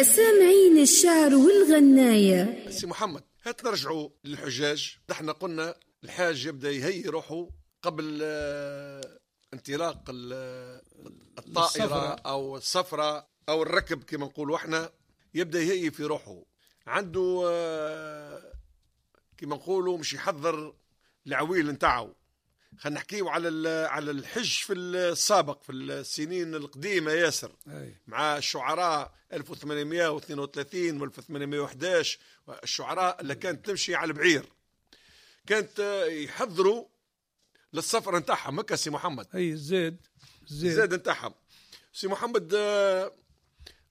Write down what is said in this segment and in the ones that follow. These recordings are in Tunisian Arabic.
سامعين الشعر والغناية. سي محمد، هات نرجعوا للحجاج. نحن قلنا الحاج يبدا يهيئ روحه قبل انطلاق الطائرة السفرة. أو السفرة أو الركب كما نقولوا احنا، يبدا يهيئ في روحه، عنده كما نقولوا مش يحضر العويل نتاعو. خلينا نحكيو على الحج في السابق، في السنين القديمة ياسر، مع الشعراء 1832 و 1811، الشعراء اللي كانت تمشي على البعير، كانت يحضروا للسفر نتاعهم. هكا سي محمد؟ اي، الزاد الزاد. الزاد نتاعهم. سي محمد،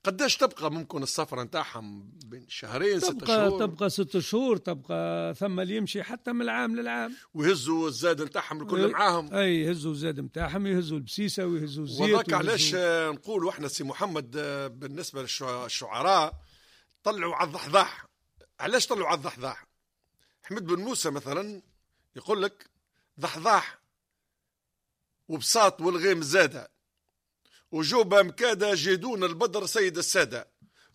قداش تبقى ممكن السفر نتاعهم؟ بين شهرين، 6 تبقى شهور؟ تبقى 6 شهور، تبقى ثم اللي يمشي حتى من العام للعام. ويهزوا الزاد نتاعهم الكل معاهم. اي، يهزوا الزاد نتاعهم، يهزوا البسيسه ويهزوا الزيت. وذاك علاش نقولوا احنا سي محمد، بالنسبة للشعراء طلعوا على الضحضاح. علاش طلعوا على الضحضاح؟ احمد بن موسى مثلا يقول لك: ضحضاح وبساط والغيم زاده وجوبة مكادة جيدون البدر سيد السادة.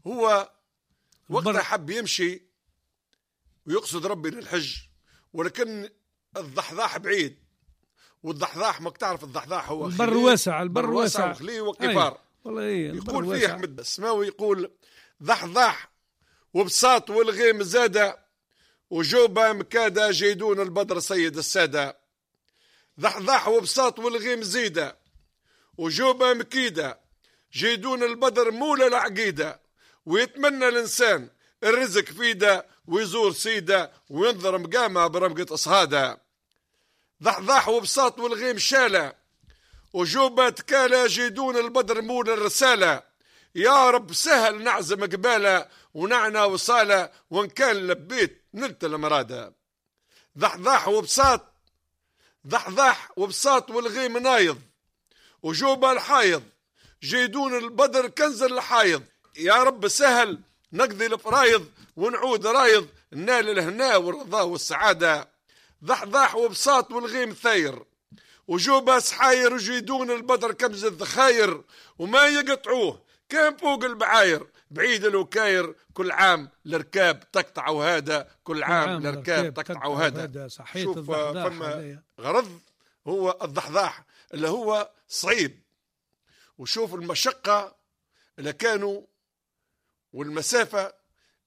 هو وقتها حب يمشي ويقصد ربي للحج، ولكن الضحضاح بعيد، والضحضاح ماك تعرف الضحضاح هو البر خليه واسع، البر بر واسع واسع. وخليه وقفار. والله إيه، البر يقول فيه واسع. احمد السماوي، يقول: ضحضاح وبساط والغيم زادة وجوبة مكادة جيدون البدر سيد السادة، ضحضاح وبساط والغيم زيدة وجوبة مكيدة جيدون البدر مولى العقيدة، ويتمنى الإنسان الرزق فيده ويزور سيده وينظر مقامه برمقة أصهاده. ضحضاح وبساط والغيم شالة وجوبة تكالة جيدون البدر مولى الرسالة، يا رب سهل نعزم قبالة ونعنى وصالة، وإن كان لبيت نلت المرادة. ضحضاح وبساط، ضحضاح وبساط والغيم نايض وجوبة الحايض جيدون البدر كنز الحايض، يا رب سهل نقضي الفرايض ونعود رايض نال الهنا والرضا والسعادة. ضحضاح وبساط والغيم ثاير وجوبة سحاير وجيدون البدر كبز الذخاير، وما يقطعوه كان فوق البعاير بعيد الوكاير، كل عام الركاب تقطع وهذا، كل عام الركاب تقطع وهذا. صحيح. شوف، الضحضاح فما هذايا. غرض هو الضحضاح اللي هو صعيب، وشوف المشقة اللي كانوا والمسافة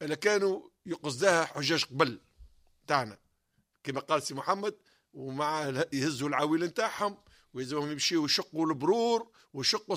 اللي كانوا يقصدها حجاج قبل تاعنا كما قال سي محمد، ومع يهزوا العويل نتاعهم ويلزمهم يمشيوا يشقوا البرور ويشقوا